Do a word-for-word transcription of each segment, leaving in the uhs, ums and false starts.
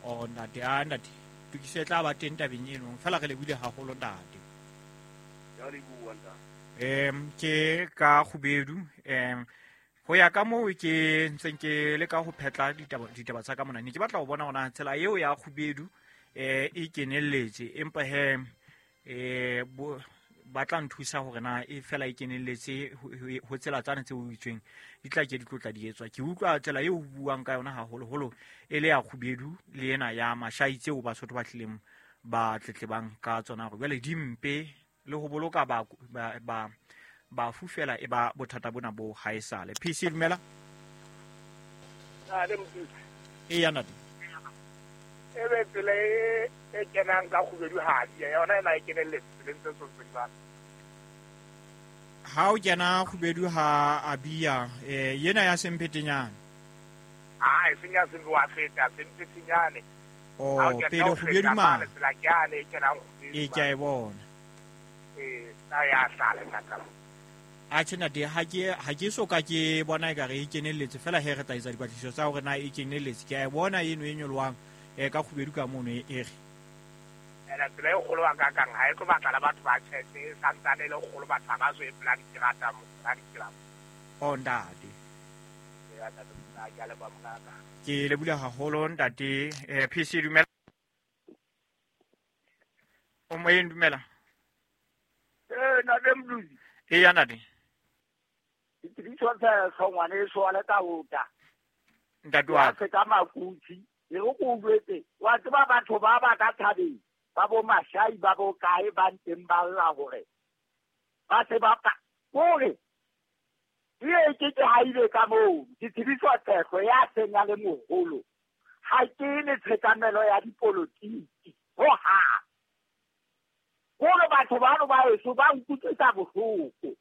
O ntate, a ntate tokiso e tla ba teng tabeng eno fela re lebohile haholo ntate. Ya leboha ntate. Em ke ka Kgubedu em ho ya ka moo ke ntseng ke le ka ho phetla ditaba ditaba tsa ka mona ne ke batla ho bona hona tsela eo ya Kgubedu eh e kenelletse empa he eh ba tla nthusa hore na e fela e kenelletse ho tsela tsane tse o itsweng di tla ke di tlotla di etswa. Ke utlwa tsela eo ho buang ka yona haholoholo e le ya Kgubedu le ena ya Mashai tseo Basotho ba tlileng ba tletlebang ka tsona hore jwale di mpe le ho boloka ba ba ba fufela e ba bothata bona bo haesale. P C dumela. Na le motho. E ya ntate. E be tsela e e kenang ka Kgubedu ha di yona ena e kenelletse tseleng tse tsotseng ba. Ha o kena Kgubedu ha Abia eh yena ya Semphetenyane. Ah e senya se wa feta Semphetenyane. Oh pele Kgubedu ma. Tsela ke ane e kenang Kgubedu. E ke a e bona. E ta ya hlale ka. A tjena de ha ke ha ke so ka ke bona e ka re e kenelletse fela he re tla etsa dipatlisiso tsa hore na e kenelletse. Ke a e bona eno e nyolwang e ka Kgubedu ka mono e re. Ena tsela e kgolo wa ka kang ha e tlo batla la batho ba tjhese santsane le kgolo batho ba so e pela diterata mo ba ditsela. Oh ntate. Ya ntate ke a leboha mongaka. Ke lebohile haholo ntate. Eh P C dumela. O moyeng dumela. Eh ntate Mduzi. E ya ntate. Ditiriso tsa hlongwane e soale ka ota. Ntate wa ka ka makutsi e go go bwetse wa tseba batho ba ba ka thabeng ba bo Mashai ba bo kae ba nteng ba lla hore ba se ba ka hore e ke ke haile ka moo ditiriso tsa ya senya le moholo ha ke le tshekamelo ya dipolotiki ho ha hore batho ba no ba eso ba nkutlwisa bohloko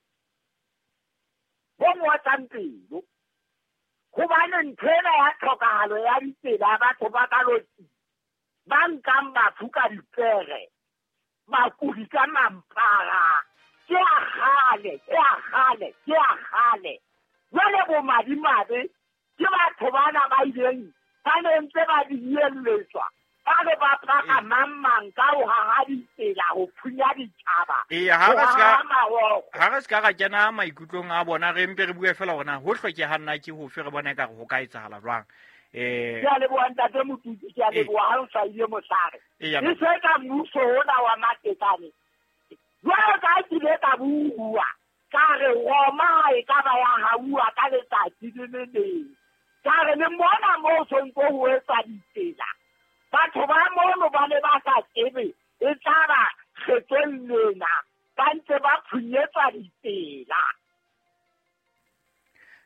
bo ngotlang pelo hobane ntho ena ya tlhokahalo ya ditsela batho ba ka lotsi ba nkang batho ka dipere bakudi ka mampara ke a kgale ke a kgale ke a kgale jwale bo madimabe ke batho bana ba ileng ba ne ntse ba dielletswa ba re ba paka mang mang ka ho haha ditsela ho phunya ditjhaba. Ee ha re ska ha re ska ra kena maikutlong a bona re mpe re bue fela hore ho hlokeha nna ke ho fe re bona ka re ho ka etsahala jwang. Eh ke a leboha ntate Motutsi, ke a leboha ha o hlahile mohlare. E se ka mmuso ona wa Matekane. Jwale ka ke ile ka bua ka re Roma e ka ba ya hauwa ka letsatsi le le leng. Ka re le mona moo sontso ho etsa ditsela. Batho ba mono ba ne ba sa tsebe e tla ba kgetsong lena ba ntse ba phunyetsa ditsela.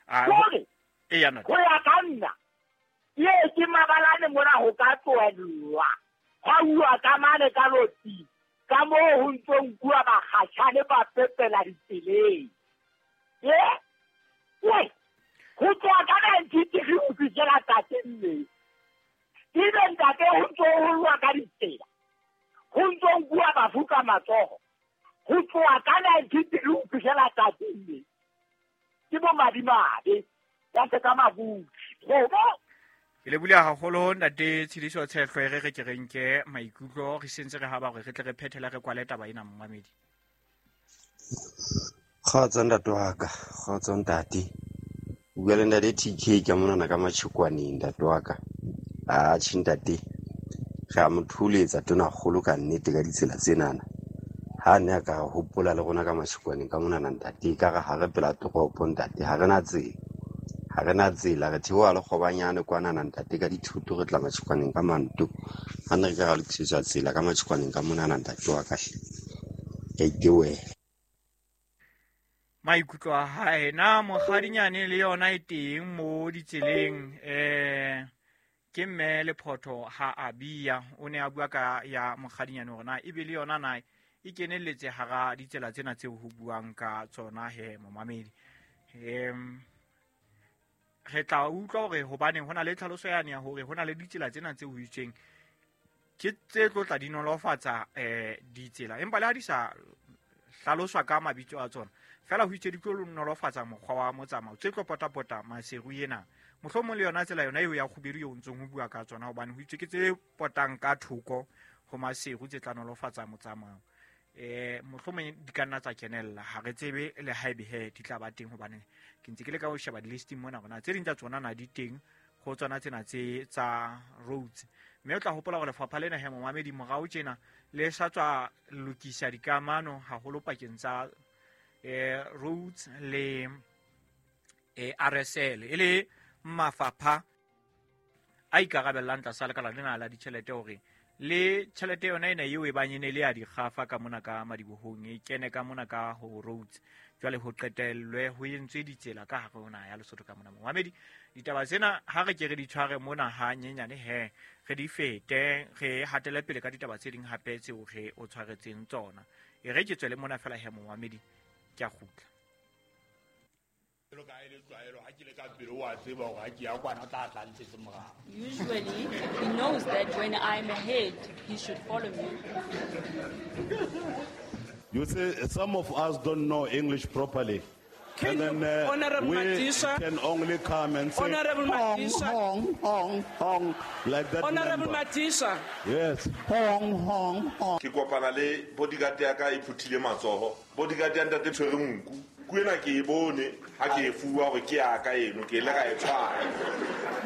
Hore ho ya ka nna ye ke mabalane mona ho ka tlohellwa hwa uwa ka mane ka lotsi ka moo ho ntso nkuwa bakgatjhane ba pepela ditseleng. Ye we ho tloha ka nineteen three ho fihlela tsatsing le ebe ntate ho ntso ho lwa ka ditsela ho ntso nkuwa bafu ka matsoho ho tloha ka nineteen three ho fihlela tsatsing le ke bo madimabe ya se ka mabutsi gobo. Ke lebohile haholo ntate Tshidiso Tshehlwe re re ke re nke maikutlo re sentse re haba hore re tle re phethele re kwale taba ena momamedi. Kgotso ntate wa ka, kgotso ntate. O bua le ntate T K ka monana ka Matjhekwaneng ntate wa ka. Atjhe ntate, re a mo thuletsa tonakgolo ka nnete ka ditsela tsenana. Ha ne a ka hopola le rona ka Matjhekwaneng ka monana ntate, ka re ha re pela toropo ntate, ha re na tsela. Ha re na tsela, re theoha le kgobanyane kwanana ntate ka dithuto re tla Matjhekwaneng ka manto. Ha ne re ka ra lokisetswa tsela ka Matjhekwaneng ka monana ntate wa ka hle. Ke a itebohela. Maikutlo a hae na mokgadinyane le yona e teng mo ditseleng eh ke mme Lephotho ha Abia o ne a bua ka ya mokgadinyane hore na ebe le yona na e kenelletse hara ditsela tsena tseo ho buang ka tsona he momamedi. Em re tla utlwa hore hobaneng hona le tlhaloso yane ya hore hona le ditsela tsena tse ho itseng ke tse tlo tla di nolofatsa eh ditsela empa le ha di sa hlaloswa ka mabitso a tsona fela ho itse di tlo nolofatsa mokgwa wa motsamao tse tlo potapota Maseru ena. Mohlomong le yona tsela yona eo ya kgubedu eo ntsong ho bua ka tsona, hobane ho itswe ke tse potang ka thoko ho Maseru tse tla nolofatsa motsamao. Eh mohlomong di ka nna tsa kenella, ha re tsebe le haebe he di tla ba teng, hobane ke ntse ke le ka ho sheba di-listing mona hore na tse ding tsa tsona na di teng ho tsona tsena tse tsa roads. Mme o tla hopola hore lefapha lena he momamedi morao tjena le sa tswa lokisa dikamano haholo pakeng tsa eh roads le eh R S L, e le mafapha a ikarabellang tlasa lekala lena la ditjhelete hore le tjhelete yona ena eo e bang e ne le ya dikgafa ka mona ka madibohong e kene ka mona ka ho roads, jwale ho qetellwe ho entswe ditsela ka hare ho naha ya Lesotho ka mona. Momamedi, ditaba tsena ha re ke re di tshware mona ha nyenyane he re di fete, re hatele pele ka ditaba tse ding hape tseo re o tshwaretseng tsona. E re ke tswele mona fela he momamedi, ke a kgutla. Usually, he knows that when I'm ahead, he should follow me. You see, some of us don't know English properly. Can and then uh, Honorable we Madisha, can only come and say, Honorable hong, Madisha, hong, hong, hong, like that. Honorable member. Madisha. Yes. Hong, hong, hong. Ke kopana le bodyguard ya ka e phuthile matsoho. Bodyguard ya ntate tshwere nku. Kuena ke e bone ha ke e fuwa hore ke ya ka eno, ke ile ka e tshwara.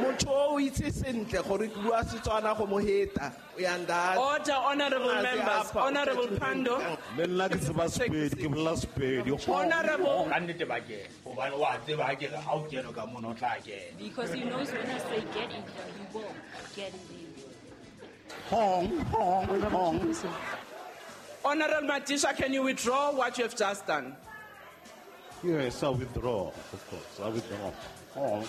Motho o itse sentle gore ke bua Setswana go mo heta. Uyanda. Order, honorable members. Honorable Pando. Le nna ke tseba Sepedi, ke bolela Sepedi. Honorable. Ka nnete ba kena, hobane wa tseba ha ke re ha o kene ka mona o tla kena. Because he knows when I say get in there, he will get in there. Hong, hong, hong. Honorable Madisha, can you withdraw what you have just done? Yes, I withdraw, of course. I withdraw. Oh.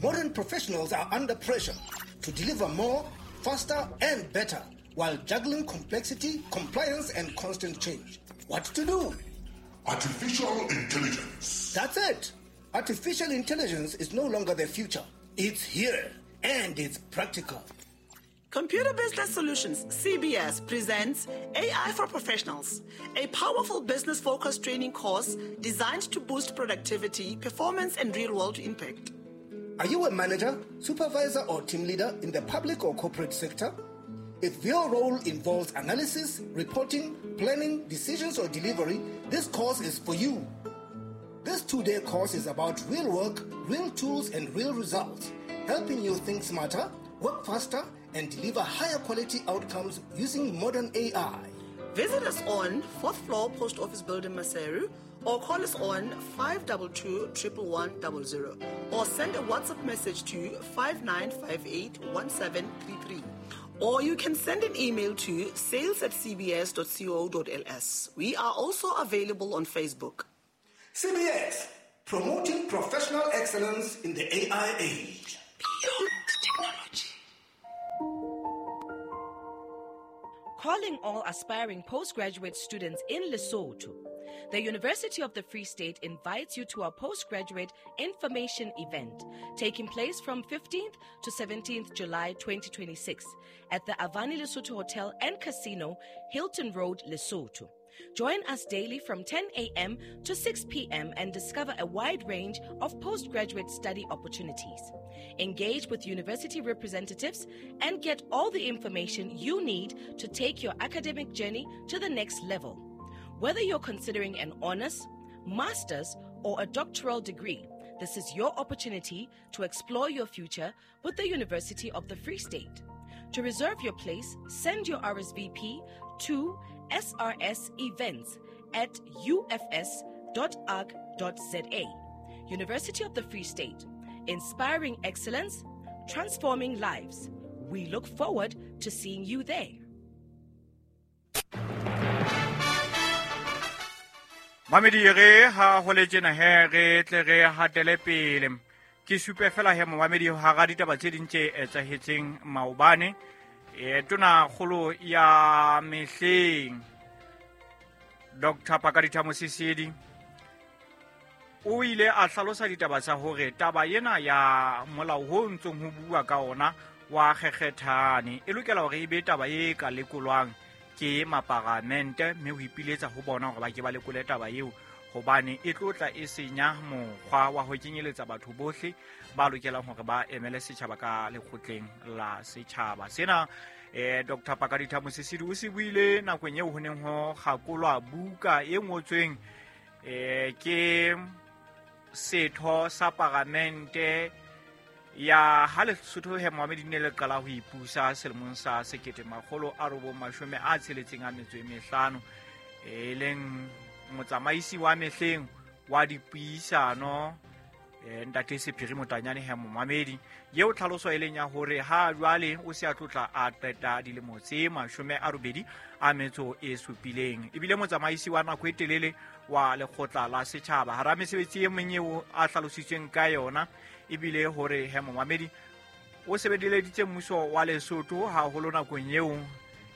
Modern professionals are under pressure to deliver more, faster, and better while juggling complexity, compliance, and constant change. What to do? Artificial intelligence. That's it. Artificial intelligence is no longer the future. It's here, and it's practical. Computer Business Solutions, C B S, presents A I for Professionals, a powerful business-focused training course designed to boost productivity, performance, and real-world impact. Are you a manager, supervisor, or team leader in the public or corporate sector? If your role involves analysis, reporting, planning, decisions, or delivery, this course is for you. This two-day course is about real work, real tools, and real results, helping you think smarter, work faster, and deliver higher quality outcomes using modern A I. Visit us on fourth floor Post Office Building, Maseru, or call us on five two two, one one one zero zero, or send a WhatsApp message to five nine five eight, one seven three three. Or you can send an email to sales at c b s dot co dot l s. We are also available on Facebook. C B S, promoting professional excellence in the A I age. Beyond technology. Calling all aspiring postgraduate students in Lesotho. The University of the Free State invites you to our postgraduate information event taking place from fifteenth to seventeenth July twenty twenty-six at the Avani Lesotho Hotel and Casino, Hilton Road, Lesotho. Join us daily from ten a.m. to six p.m. and discover a wide range of postgraduate study opportunities. Engage with university representatives and get all the information you need to take your academic journey to the next level. Whether you're considering an honors, master's, or a doctoral degree, this is your opportunity to explore your future with the University of the Free State. To reserve your place, send your R S V P to S R S events at u f s dot org dot z a. University of the Free State, inspiring excellence, transforming lives. We look forward to seeing you there. Mamedi re ha ho le tjena he re tle re hatele pele. Ke supe fela he momamedi ha ra ditaba tse ding tse etsahetseng maobane. E tona kgolo ya mehleng Doctor Pakalitha Mosisili o ile a hlalosa ditaba tsa hore taba ena ya molao ho ntsong ho bua ka ona wa kgekgethane e lokela hore e be taba e ka lekolwang ke maparamente, mme ho ipiletsa ho bona hore ba ke ba lekole taba eo hobane e tlotla e senya mokgwa wa ho kenyeletsa batho bohle ba lokelang hore ba emele setjhaba ka lekgotleng la setjhaba. Sena eh Doctor Pakalitha Mosisili o se buile nakong eo ho neng ho kgakolwa buka e ngotsweng eh ke setho sa paramente ya ha Lesotho he Mohammed ne le qala ho ipusa selemong sa sekete makgolo a robong mashome a tsheletseng a metso e mehlano, e leng motsamaisi wa mehleng wa dipuisano ntate Sephiri Motanyane he Mohammed, eo tlhaloso e leng ya hore ha jwale o se a tlotla a qeta dilemo tse mashome a robedi a metso e supileng, ebile motsamaisi wa nako e telele wa lekgotla la setjhaba. Hara mesebetsi e meng eo a hlalositsweng ka yona ebile hore he Mohammed o sebeleditse mmuso wa Lesotho haholo nakong eo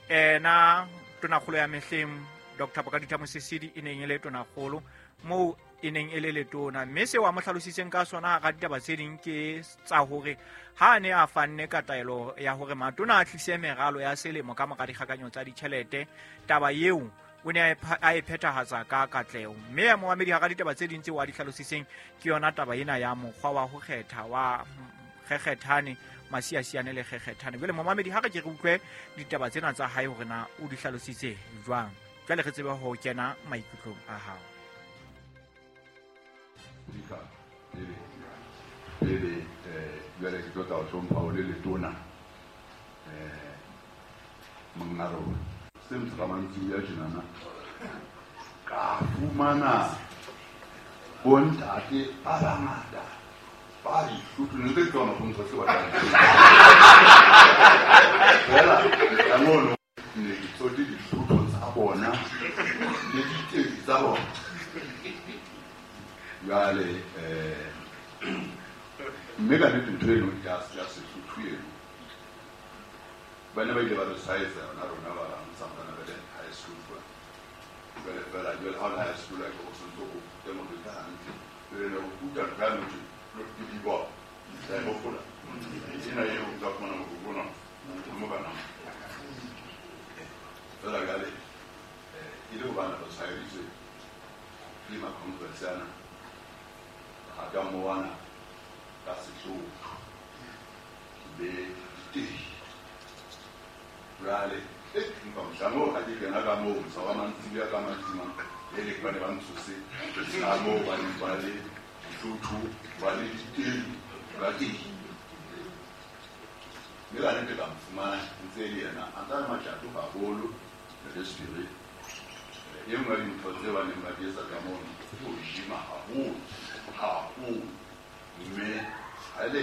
ena tonakgolo ya mehleng Doctor Pakalitha Mosisili e neng e le tonakgolo moo e neng e le letona, mme seo a mo hlalositseng ka sona ga ditaba tse ding ke tsa hore ha a ne a fanne ka taelo ya hore matona a tlise meralo ya selemo ka mora dikgakanyo tsa ditjhelete, taba eo o ne a e phethahatsa ka katleho. Mme ya Mohammed hara ditaba tse ding tseo a di hlalositseng ke yona taba ena ya mokgwa wa ho kgetha wa kgekgethane masiasiane le kgekgethane. Jwale Mohammed ha re ke re utlwe ditaba tsena tsa hae hore na o di hlalositse jwang, jwale re tsebe ho kena maikutlong a hao. Pele jwale ke tlo tla o hlompha o le letona eh monga rona se motho mantsibuya tjenana ka fumana bontate ba bangata ba dihlotho ne ntse ke tsona go ntsha se batlang fela ka mono ne ke tsote dihlotho tsa bona le diteki tsa bona. Jwale eh mme ka nnete ntho eno ya ya Sesotho eno ba ne ba ile ba re tshwaetsa yona rona ba bang santsane re le high school kwa. Jwale fela jwale ha o le high school a ke o santse o rute motho ka hantle, jwale ne o ruta ntho ya motho ke di-ball ka e hopola ena eo o tla fumana motho ona mo kana fela jwale e le hobane re tshwaeditswe ke ma-conference ana a ka moana ka Sesotho le diteki. Jwale empa mohlang oo ha ke kena ka moo mosa wa mantsibuya ka mantsima e le ba ne ba ntshose ka moo ba neng ba le dihlotho ba le diteki ba teki. Mme ka nnete ka mo fumana ntse e le yena a ntsa le matjato haholo le Sephiri. E nngwe ya dintho tse ba neng ba di etsa ka mono ke ho gym-a haholo haholo, mme ha le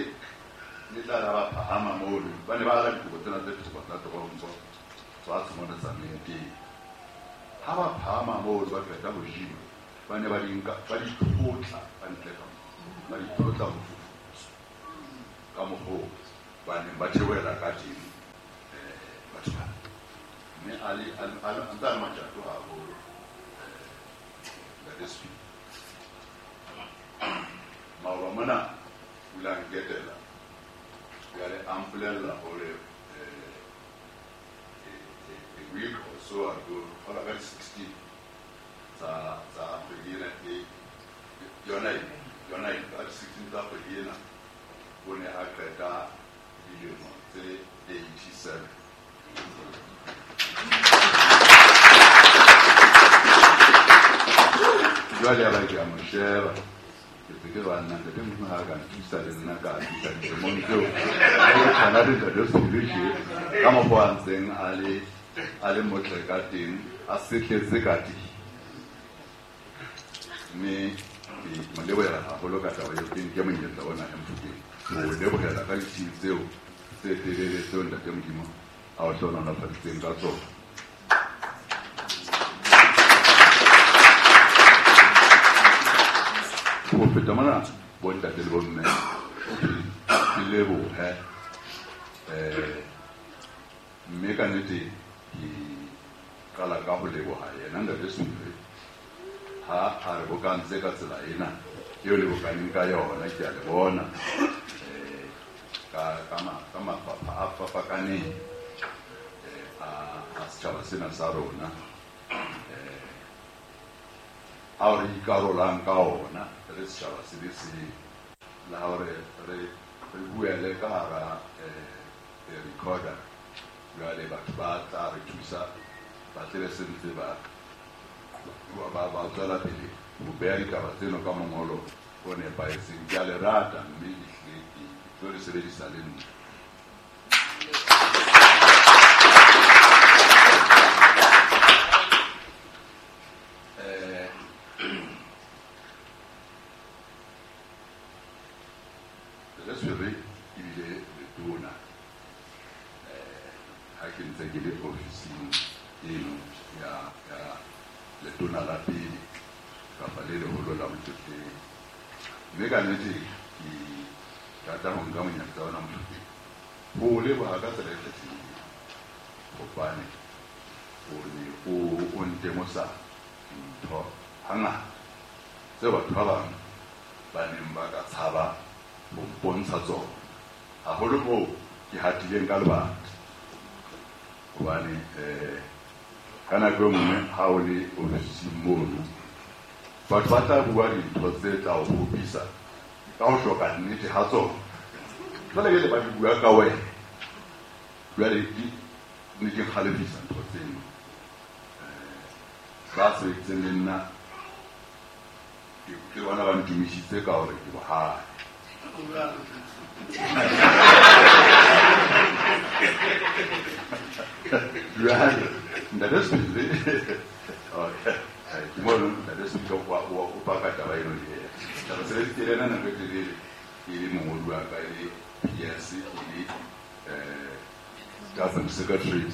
le tla ra ba phahama mono ba ne ba ala dikobo tsena tse thoko tsa toronko fatshe mona tsa teng. Ha ba phahama mono ba qeta ho gym-a ba ne ba di nka ba di tlotla ka ntle ka moo ba di tlotla mofufutso ka mokgwa oo ba neng ba theohela ka teng batho bana. Mme a le a ntse a le matjato haholo ntate Sephiri. Maoba mona o ile a nketela jwale a mpolella hore a week or so ago hola ka di-sixteen tsa tsa kgwedi ena e yona e yona e ka di-sixteen tsa kgwedi ena o ne a qeta dilemo tse eighty-seven. Jwale ya ba ke a mo sheba ke se ke ba nna ntate Modimo ha ka nthusa le nna ka fihla dilemong tseo ke tshwana le ntate Sephiri tje ka mokgwa a ntseng a le a le motle ka teng a sehletse ka teng. Mme ke mo lebohela haholo ka taba eo, ke nke monyetla ona e Mofokeng ho lebohela ka ditshiu tseo tse telele tseo ntate Modimo a o hlohonolofaditseng ka tsona. Ho feta mona bontate le bomme ke lebohe eh Mme ka nnete ke qala ka ho leboha yena Ntate Sephiri ha a re bokantse ka tsela ena eo le bokaneng ka yona. Ke a le bona eh ka ka ka mafapha a fapakaneng eh a a setjhaba sena sa rona eh ao re ikarolang ka ona re setjhaba se le seng, la hore re re buele ka hara eh recorder. Jwale batho ba tla re thusa ba tle se ntse ba ba ba tswela pele ho beha ditaba tseno ka mongolo o nepahetseng. Ke a le rata mme ehlile ke tlo le sebedisa le nna. Eh Ntate Sephiri ebile letona eh ha ke ntse ke le ofising eno ya ya letona la pele kapa le leholo la Motlotleng. Mme ka nnete ke rata ho nka monyetla ona Motlotleng ho o leboha ka tsela e kgethehileng, hobane o ne o o ntemosa dintho hangata tseo batho ba bang ba neng ba ka tshaba ho mpontsha tsona, haholo moo ke hatileng ka lebati. Hobane eh ka nako e nngwe ha o le ofising mono, batho ba tla bua dintho tse tla o kgopisa ka ho hloka nnete ha tsona. Jwale ke le ba di bua ka wena, jwale di ne di kgalefisa ntho tseno. Eh ba sebeditseng le nna ke bona ba ntumisitse ka hore ke bohale. Jwale Ntate Sephiri ke mono Ntate Sephiri o paka taba eno le yena. Taba sebeditse le ena nako e telele, e le mongodi wa ka, e le P S, e le eh government secretary,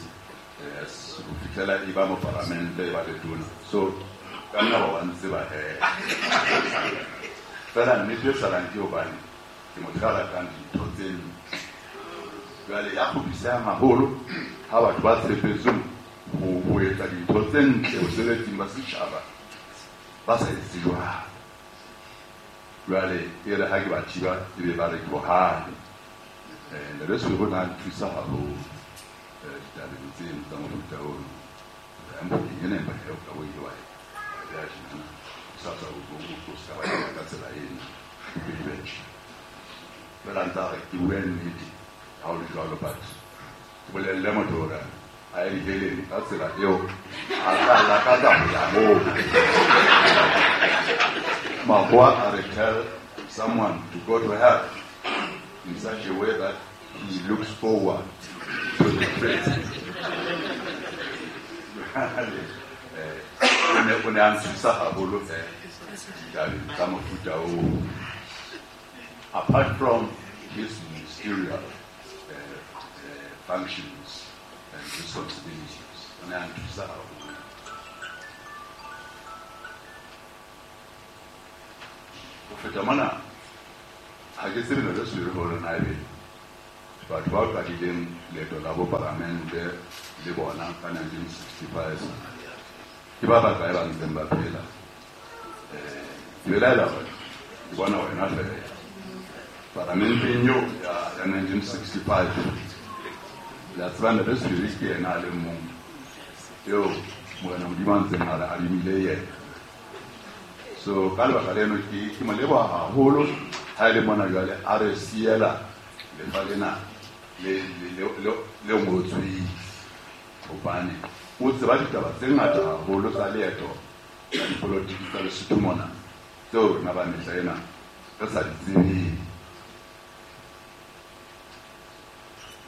yes, ho fihlela e ba mopalamente, e ba letona. So ka nna ba wa ntseba hee. Fela nnete e salang ke hobane ke motho ya ratang dintho tse ntle. Jwale ya kgopisehang haholo ha batho ba tshepetsweng ho ho etsa dintho tse ntle bosebetsing ba setjhaba ba sa etse jwalo. Jwale e re ha ke ba thiba ebe ba re ke bohale. Eh Ntate Sephiri o ne a nthusa haholo eh ditabeng tseno tsa mofuta ono. Mokeng ena empa he o ka bo ile wa ya tjena sa sa o o ska ba ya ka tsela ena ke be tjhe. Fela ntse a re ke bue nnete ha o le jwalo, but ke bolelle motho hore a ye diheleng ka tsela eo a tla lakatsa ho ya moo. Makgowa a re tell someone to go to hell in such a way that he looks forward to the present. O ne o ne a nthusa haholo eh ditabeng tsa mofuta oo. Apart from his ministerial uh, uh, functions and responsibilities, o ne a nthusa haholo. Ho feta mona, ha ke tsebe Ntate Sephiri hore na ebe batho ba qadileng leeto la bopalamente le bona ka nineteen sixty-five ke ba bakae ba ntseng ba phela. Eh ke belaela hore ke bona wena fela Paramenteng eo ya ya nineteen sixty-five le a tseba Ntate Sephiri ke yena a le mong eo Morena Modimo a ntseng a re adimile yena. So ka lebaka leno ke ke mo leboha haholo ha e le mona jwale a re siela lefa lena le le le le ngotsweng, hobane o tseba ditaba tse ngata haholo tsa leeto la dipolotiki tsa Lesotho mona tseo rona ba mehla ena re sa di tsebeng.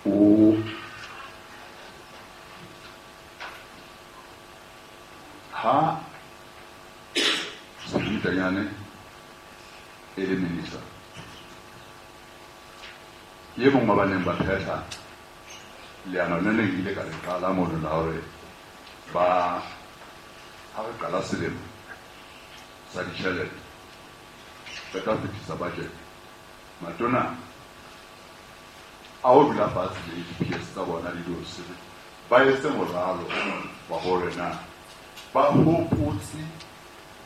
O ha Sephiri Motanyane e le minister, ke e mong wa ba neng ba phetha leano le neng ile ka le qala mono la hore ba ha re qala selemo sa ditjhelete re tla fetisa budget, matona a o dula fatshe le di-P S tsa bona le di-O C Ba etse moralo wa hore na ba hopotse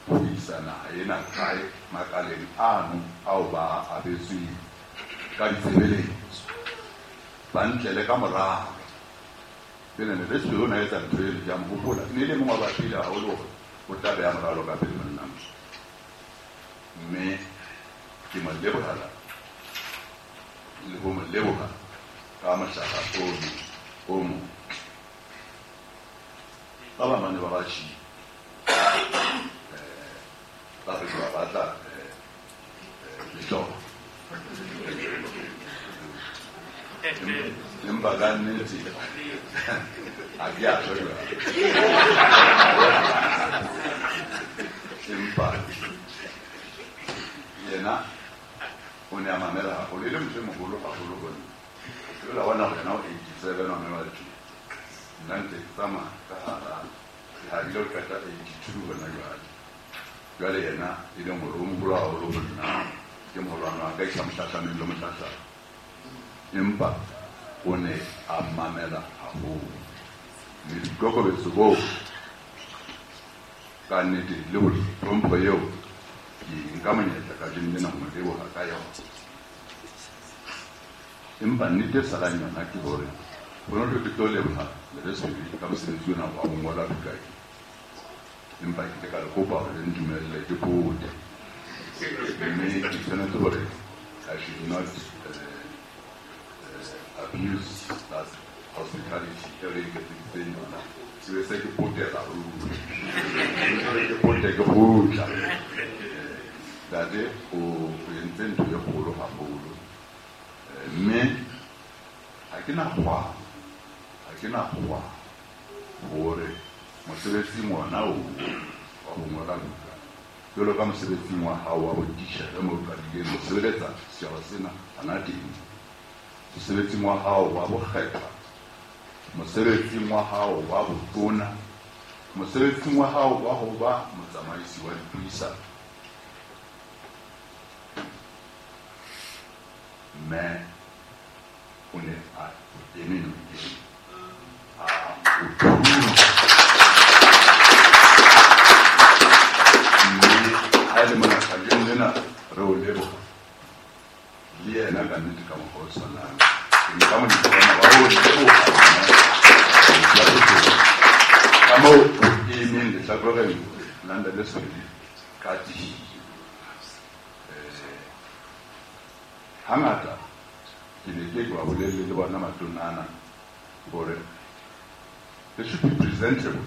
ho isa naha ena kae makaleng ano ao ba abetsweng ka ditshebeletso. Ba ntlele ka moralo. Pele ne le se o na etsa ntho e le ya mo hopola. Ne le mongwe wa ba pele haholo hore o tla beha moralo ka pele monna. Mme ke mo lebohela le ho mo leboha ka mohlala ono o motle. Ba bang ba ne ba ba tjhii. Ba re ba batla lehloko. Empa ka nnete ha ke a tjho jwalo. Empa yena o ne a mamela haholo, e le motho e moholo haholo ho nna. Jwale wa bona hore yena o eighty-seven wa mme wa tjhe. Nna ntse ke tsamaya ka hara ke habile ho qeta eighty-two hona jwale. Jwale yena e leng hore o moholo haholo ho nna, ke moholwane wa ka, ke sa mo hlahlameng le mo hlahlama. Empa o ne a mamela haholo. Mme boikokobetso boo ka nnete le ho hlompho eo ke nka monyetla kajeno lena ho mo leboha ka yona. Empa nnete e salang yona ke hore ho no ke tlo leboha Lebesele ka mosebetsi ona wa ho ngola buka e. Empa ke ile ka le kopa hore le ntumelle ke pote. Mme ke tshwanetse hore I should not uh, uh, abuse that hospitality e re iketseditseng yona. Ke be se ke potela ruri. Ke pote ke kgutla. Ntate o entse ntho e kgolo haholo. Mme ha ke na kgwa, ha ke na kgwa hore mosebetsing ona oo wa ho ngola buka, jwalo ka mosebetsing wa hao wa botitjhere moo o qadileng ho sebeletsa setjhaba sena hana teng, mosebetsing wa hao wa bokgethwa, mosebetsing wa hao wa botona, mosebetsing wa hao wa ho ba motsamaisi wa dipuisano. Mme o ne a eme nokeng a o thusa. Mme ha e le mona kajeno lena re o leboha le yena ka nnete ka mokgwa o tshwanang. Ke nka monyetla ona wa ho leboha ka moo o emeng lehlakoreng la Ntate Swele ka tiyo. Hangata ke ne ke ba bolelle le bona matona ana hore they should be presentable.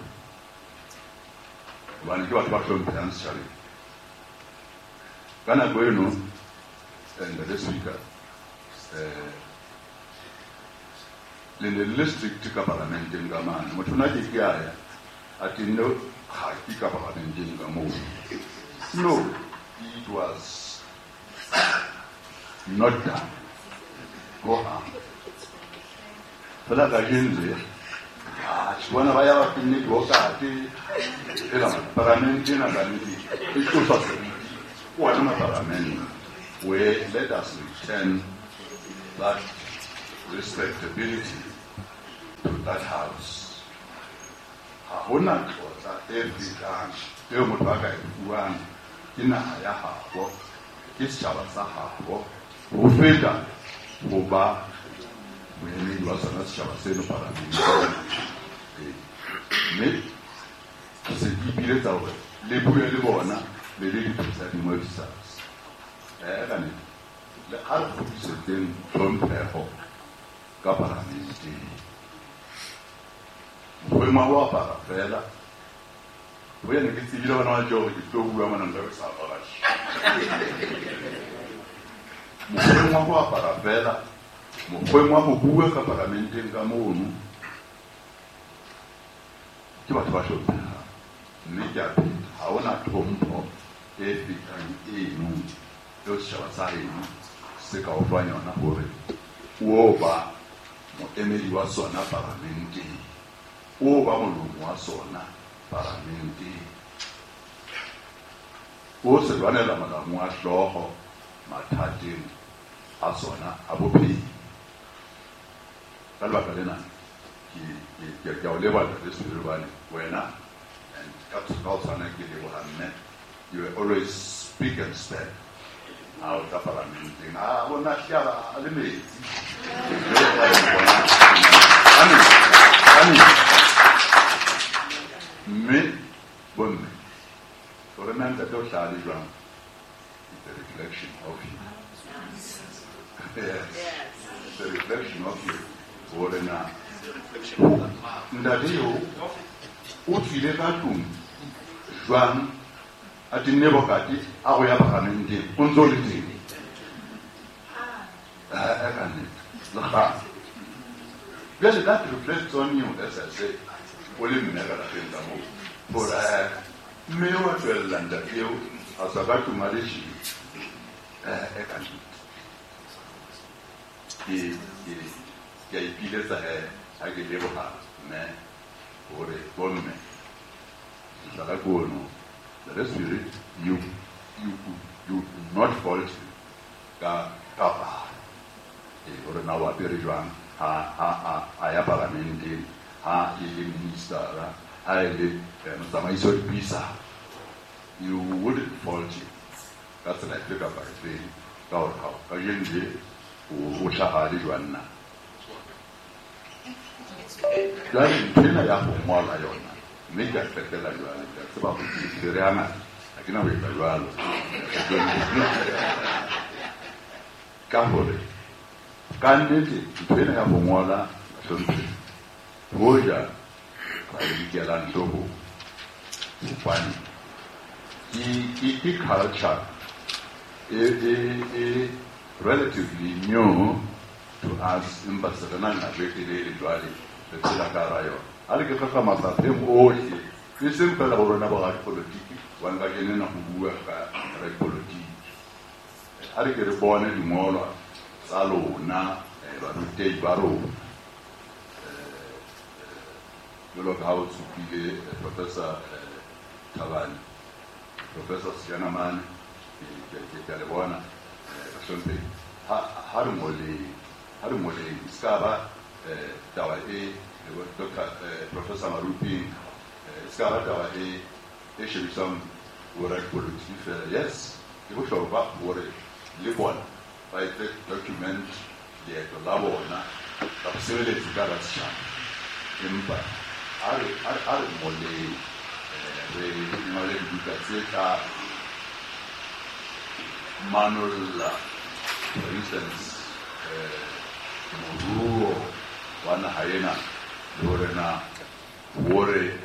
Hobane ke batho ba hlomphehang setjhabeng. Ka nako eno, Ntate Speaker, eh, le ne le strict ka parlamenteng ka mane. Motho ona ke ke a ya a tenne kgaki ka parlamenteng ka moo. No, it was not done. Go on. Fela kajeno le ah, bona ba ya ba tenne diokate. Fela parlamente ena ka nnete e tlosa seriti. Ona maparlamente where let us return that respectability to that house. Ha hona tlotla e fetang eo motho a ka e fuwang ke naha ya habo, ke setjhaba sa habo, ho feta ho ba moemedi wa sona setjhaba seno parlamenteng. Mme ke se ke ipiletsa hore le bue le bona le le di-presiding officers. Eh, ka nnete, le ha re kgutlisetseng tlhompheho ka parlamenteng. Mokgweng wa ho apara fela, ho yena ke tsebile hona wa tjho hore ke tlo bua mona nka be ke sa apara tjhe. Mokgweng wa ho apara fela, mokgweng wa ho bua ka parlamenteng ka mono, ke batho ba hlomphehang. Mme ke a pheta, ha hona tlhompho e fetang eno eo setjhaba sa heno se ka o fang yona hore o ba moemedi wa sona parlamenteng, o ba molomo wa sona parlamenteng, o se lwanela molamu wa hlooho mathateng a sona a bophelo. Ka lebaka lena ke Ke ke o leboha Ntate Sephiri hobane wena and ka ka o tshwana ke leboha mme, you were always speak and stand. Ha o tla parlamenteng, a bona hlaba a le metsi. Amen. Amen. Mme bomme, hore na ntate o hlaha le jwang, it's a reflection of you. Yes. It's a reflection of you. Hore na ntate eo o tswile ka tlung jwang a tenne bokate a go ya parlamenteng o ntse o le teng. Ah, ka nnete. Le kgale. Jwale that reflects on you, as I say, o le mme ka lapeng ka moo. Hore mme wa tswella ntate eo a tswa ka tlung a le tjena. Eh, ka nnete. Ke ke ke a ipiletsa he ha ke leboha mme hore bomme mohlala ke ono. The Spirit, you you you not fault him ka ka palo. Eh, hore na o apere jwang ha ha ha a ya parlamenteng, ha e le ministera, ha e le motsamaisi wa dipuisano. You wouldn't fault him ka tsela efe kapa efe ka hore ha kajeno le o hlaha le jwang na. Jwale ntho ena ya ho ngola yona mme ke a qetela jwale, ke a tseba hore ke tshwere hangata, ha ke na ho etsa jwalo. Ka hore ka nnete ntho ena ya ho ngola bahlomphehi, hoja ba e nkelang hloohong, hobane ke ke ke culture e e e relatively new to us, empa se re na le nako e telele jwale re phela ka hara yona. Ha re ke hloka mafapheng ohle, e seng feela ho rona boradipolotiki, hobane kajeno ena ho bua ka radipolotiki. Ha re ke re bone dingolwa tsa lona, barutehi ba rona. Jwalo ka ha o tshupile Professor Thabane, Professor Sejanamane, ke a le bona bahlomphehi. Ha re ngoleng, ha re ngoleng, e ska ba taba e Doctor Professor Maruping, e ska ba taba e e shebisang boradipolotiki fela. Yes, ke bohlokwa hore le bona ba etse document leeto la bona la bosebeletsi ka hara setjhaba. Empa ha re ha re ngoleng, re ngole dibuka tse tla manolla, for instance, moruo wa naha ena, le hore na hore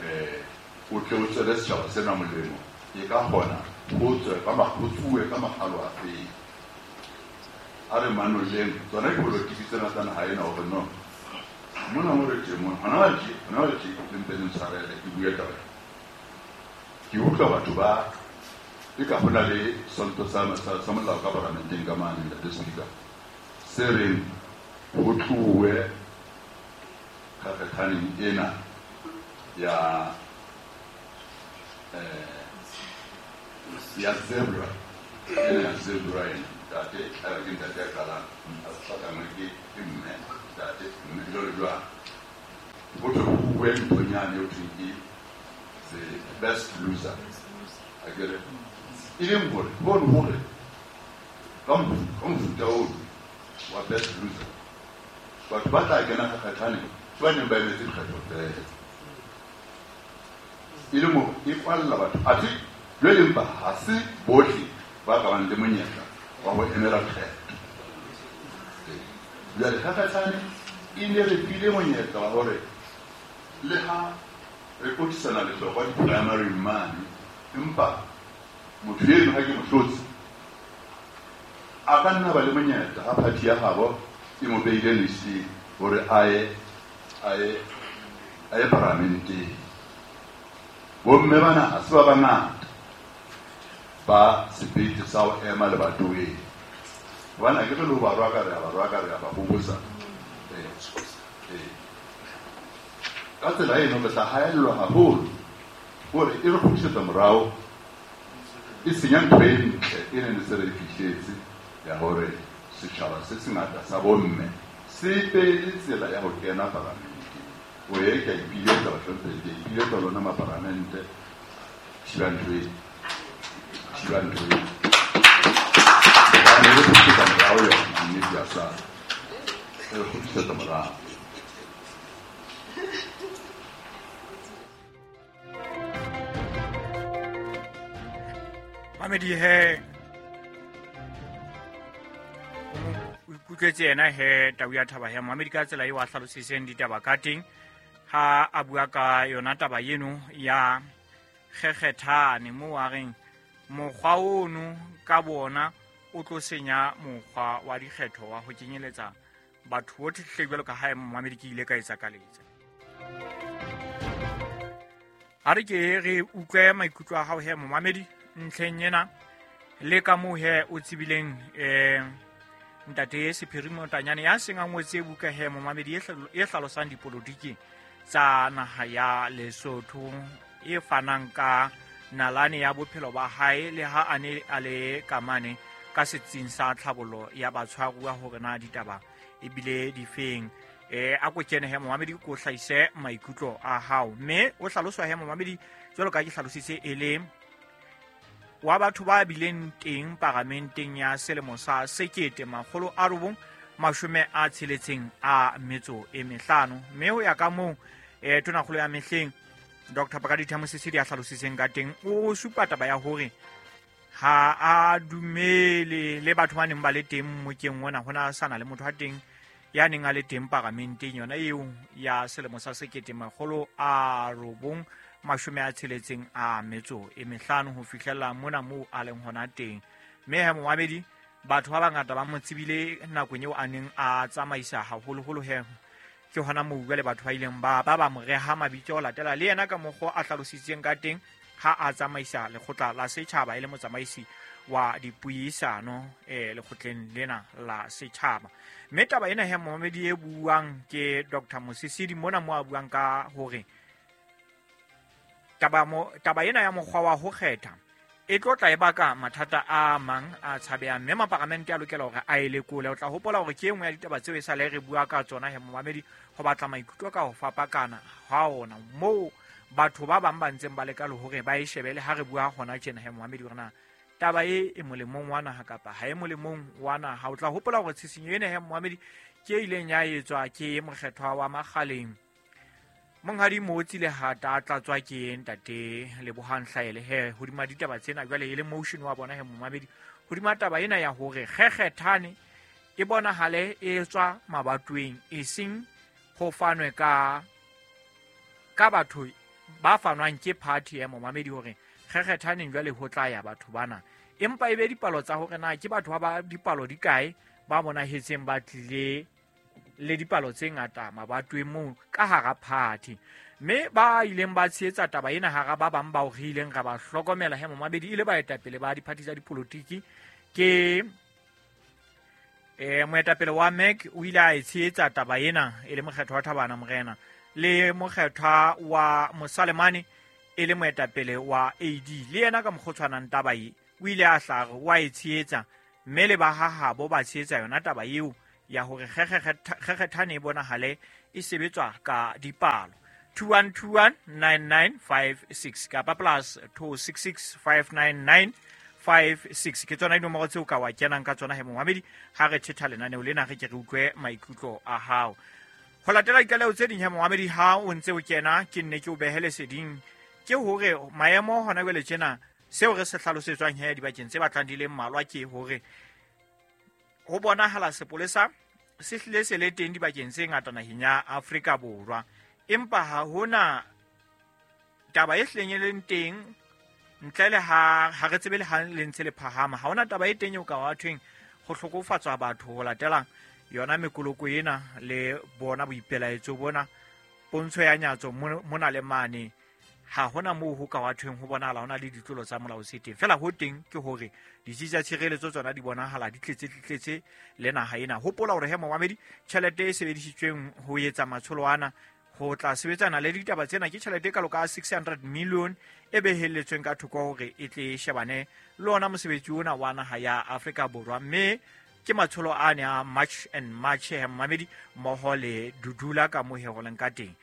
o tle o tswele setjhaba sena molemo, e ka kgona ho tswe ka ho tsuwe ka makgalo afe. A re manolleng tsona dipolotiki tsena tsa naha ena hore no mona mo re teng mona, hona jwale tje, hona jwale tje, le mpe le ntshwarele ke bue taba ena. Ke utlwa batho ba e ka hona le sonto sa sa molao ka parlamenteng ka mane, Ntate Speaker, se reng ho tluwe kgakgathaneng ena ya eh ya zebra, ena ya zebra ena. Ntate, ke ntate ya qalang, a hlatlangwe ke ke mme, ntate, mme jwalo jwalo. Ho thwe ho bue nthonyane eo thweng ke the best loser. Akere e leng hore hono hore ka mofuta ono wa best loser, batho ba tla kena kgakgathaneng ke ba neng ba emetse dikgetho fela. E leng hore e kwalla batho, athe jwale empa ha se bohle ba ka bang le monyetla wa ho emela kgetho. Jwale kgakgathane e ne re file monyetla wa hore le ha re kotisana lehlokwa di-primary mane, empa motho eno ha ke mo hlotse a ka nna ba le monyetla ha party ya habo e mo beile listeng hore a ye a ye a ye parlamenteng. Bomme bana ha se ba bangata ba sebete sa ho ema lebatoweng, hobane ha ke re le ho ba rwaka re a ba rwaka re a ba hobosa. Eh, ka tsela eno re tla haellwa haholo hore e re kgutlisetsa morao, e senya ntho e ntle e neng e se re e fihletse ya hore setjhaba se sengata sa bomme se be le tsela ya ho kena parlamenteng. O e ke a ipiletsa bahlomphedi, ke a ipiletsa lona maparamente, thiba ntho e, thiba ntho e. Hobane re kgutlisetsa morao yona nnete ya sa, re kgutlisetsa morao. Mamedi he o ikutlwetse yena he tau ya thaba he Mamedi ka tsela eo a hlalositseng ditaba ka teng ha a bua ka yona taba eno ya kgekgethane moo a reng mokgwa ono ka bona o tlo senya mokgwa wa dikgetho wa ho kenyeletsa batho bohle hle jwalo ka ha Mamedi ke ile ka etsa ka letsa. A re ke re utlwe maikutlo a hao he Mamedi ntlheng ena le ka moo he o tsebileng eh ntate Sephiri Motanyane ya seng a ngotse buka he Momamedi e hlalosang dipolotiki tsa naha ya Lesotho e fanang ka nalane ya bophelo ba hae le ha a ne a le kamane ka setsing sa tlhabollo ya batshwaruwa hore na ditaba ebile difeng. Eh a ko kene he Momamedi ko hlahise maikutlo a hao mme o hlaloswa he Momamedi jwalo ka ke hlalositse e le wa batho ba bileng teng paramenteng ya selemo sa sekete makgolo a robong mashome a tsheletseng a metso e mehlano mme ho ya ka moo eh tonakgolo ya mehleng Doctor Pakalitha Mosisili a hlalositseng ka teng o supa taba ya hore ha a dumele le batho ba neng ba le teng mokeng ona hona sana le motho a teng ya neng a le teng paramenteng yona eo ya selemo sa sekete makgolo a robong mashome a tsheletseng a metso e mehlano ho fihlela mona moo a leng hona teng. Mme he Momamedi batho ba bangata ba mo tsebile nakong eo a neng a tsamaisa haholoholo he ke hona moo jwale batho ba ileng ba ba ba mo reha mabitso ho latela le yena ka mokgwa a hlalositseng ka teng ha a tsamaisa lekgotla la setjhaba e le motsamaisi wa dipuisano eh lekgotleng lena la setjhaba. Mme taba ena he Momamedi e buang ke Doctor Mosisili mona mo a buang ka hore taba mo taba ena ya mokgwa wa ho kgetha e tlo tla e baka mathata a mang a tshabehang mme maparamente a lokela hore a e lekole. O tla hopola hore ke e nngwe ya ditaba tseo e sale re bua ka tsona he Momamedi ho batla maikutlo ka ho fapakana ha ona moo batho ba bang ba ntseng ba leka le hore ba e shebele ha re bua hona tjena he Momamedi hore na taba e e molemong wa naha kapa ha e molemong wa naha. O tla hopola hore tshisinyo ena he Momamedi ke e ileng ya etswa ke mokgethwa wa Makgaleng Monghadi Motsi le hata a tlatswa ke ntate Lebohang Hlaele he hodima ditaba tsena jwale e le motion wa bona he Momamedi hodima taba ena ya hore kgekgethane e bonahale e tswa mabatweng e seng ho fanwe ka ka batho ba fanwang ke party ya Momamedi hore kgekgethaneng jwale ho tla ya batho bana empa e be dipalo tsa hore na ke batho ba ba dipalo di kae ba bonahetseng ba tlile le dipalo tse ngata mabatweng moo ka hara party. Mme ba ileng ba tshehetsa taba ena hara ba bang bao re ileng ra ba hlokomela he Momamedi ile baetapele ba diphathi tsa dipolotiki ke eh moetapele wa M E C o ile a e tshehetsa taba ena e le mokgethwa wa Thabana Morena le mokgethwa wa Mosalemane e le moetapele wa A D le yena ka mokgotshwanang taba e o ile a hlare wa e tshehetsa mme le ba hahabo ba tshehetsa yona taba eo ya hore kgekgethane e bonahale e sebetswa ka dipalo. Two one two one nine nine five six kapa plus two six six five nine nine five six ke tsona dinomoro tseo ka wa kenang ka tsona he Momamedi ha re thetha lenaneo lena re ke re utlwe maikutlo a hao. Ho latela ditlaleho tse ding he Momamedi ha o ntse o kena ke nne ke o behele seding ke hore maemo hona jwale tjena seo re se hlalosetswang he dibakeng tse batlang di le mmalwa ke hore ho bonahala sepolesa se hlile se le teng dibakeng tse ngata naheng ya Afrika Borwa empa ha hona taba e hleng e leng teng ntle le ha ha re tsebe le ha le ntse le phahama ha hona taba e teng eo ka wa thweng ho hlokofatswa batho ho latela yona mekoloko ena le bona boipelaetso bona pontsho ya nyatso mona le mane ha hona moo ho ka wa thweng ho bonahala hona le ditlolo tsa molao se teng fela ho teng ke hore ditsi tsa tshireletso tsona di bonahala di tletse tletse le naha ena. Hopola hore he Momamedi tjhelete e sebedisitsweng ho etsa matsholo ana ho tla sebetsana le ditaba tsena ke tjhelete e kalo ka six hundred million e behelletsweng ka thoko hore e tle shebane le ona mosebetsi ona wa naha ya Afrika Borwa mme ke matsholo a ne a March and March he Momamedi mmoho le Dudula ka moo he ho leng ka teng.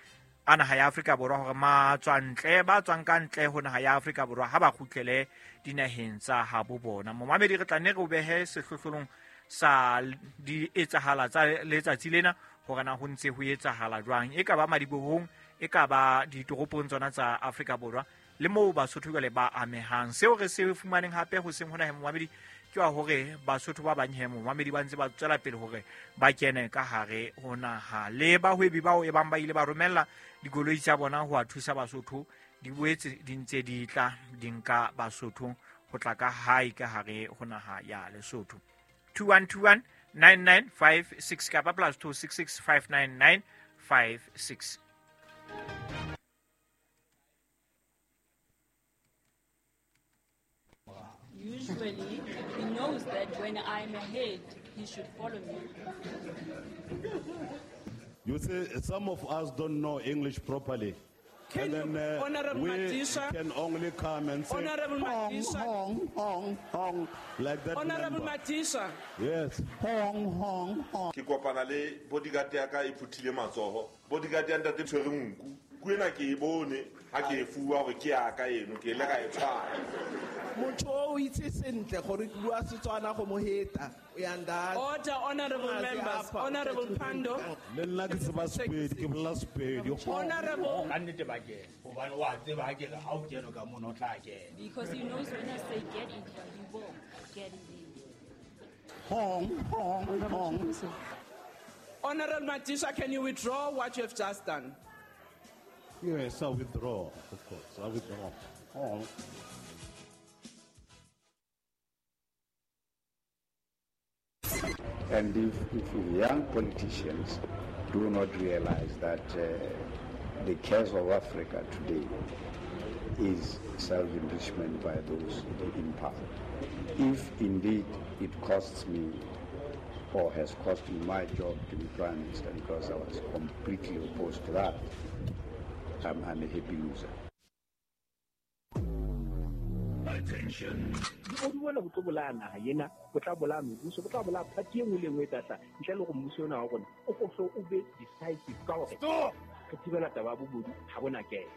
a naha ya Afrika Borwa hore matswantle ba tswang ka ntle ho naha ya Afrika Borwa ha ba kgutlele dinaheng tsa habo bona. Momamedi re tla nne re o behe sehlohlolong sa di etsahala tsa letsatsi lena hore na ho ntse ho etsahala jwang, e ka ba madibohong, e ka ba ditoropong tsona tsa Afrika Borwa le moo Basotho jwale ba amehang. Seo re se fumaneng hape ho seng hona he momamedi ke wa hore Basotho ba bang he momamedi ba ntse ba tswela pele hore ba kene ka hare ho naha. Le bahwebi bao e bang ba ile ba romella dikoloi tsa bona ho a thusa Basotho di boetse di ntse di tla di nka Basotho ho tla ka hae ka hare ho naha ya Lesotho. two one two one nine nine five six kapa plus two six six five nine nine five six. Usually, he knows that when I'm ahead, he should follow me. You see, some of us don't know English properly. Can and then uh, Honorable we Madisha, can only come and say, Honorable hong, Madisha, hong, hong, hong, like that. Honorable member. Madisha. Yes. Hong, hong, hong. Ke kopana le bodyguard ya ka e phuthile matsoho. Bodyguard ya ntate tshwere nku. Ku ena ke e bone ha ke e fuwa hore ke ya ka eno, ke ile ka e tshwara. Motho o itse sentle gore ke bua Setswana go mo heta. Uyanda. Order, honorable members. Honorable Pando. Le nna ke tseba Sepedi, ke bolela Sepedi. Honorable. Ka nnete ba kena, hobane wa tseba ha ke re ha o kena ka mono o tla kena. Because he knows when I say get in here, he will get in there. Hong, hong, hong. Honorable Madisha, can you withdraw what you have just done? Yes, I withdraw, of course. I withdraw. Hong. And if, if young politicians do not realize that uh, the curse of Africa today is self-enrichment by those in power. If indeed it costs me or has cost me my job to be Prime Minister, because I was completely opposed to that, I'm, I'm a happy loser. Attention. O bona bo tlo bolaya naha ena, bo tla bolaya mebuso, bo tla bolaya party e nngwe le nngwe e tla tla ntle le gore mmuso ona wa rona o ko o be decisive ka hore re thibela taba ya bobodu ha bona kena.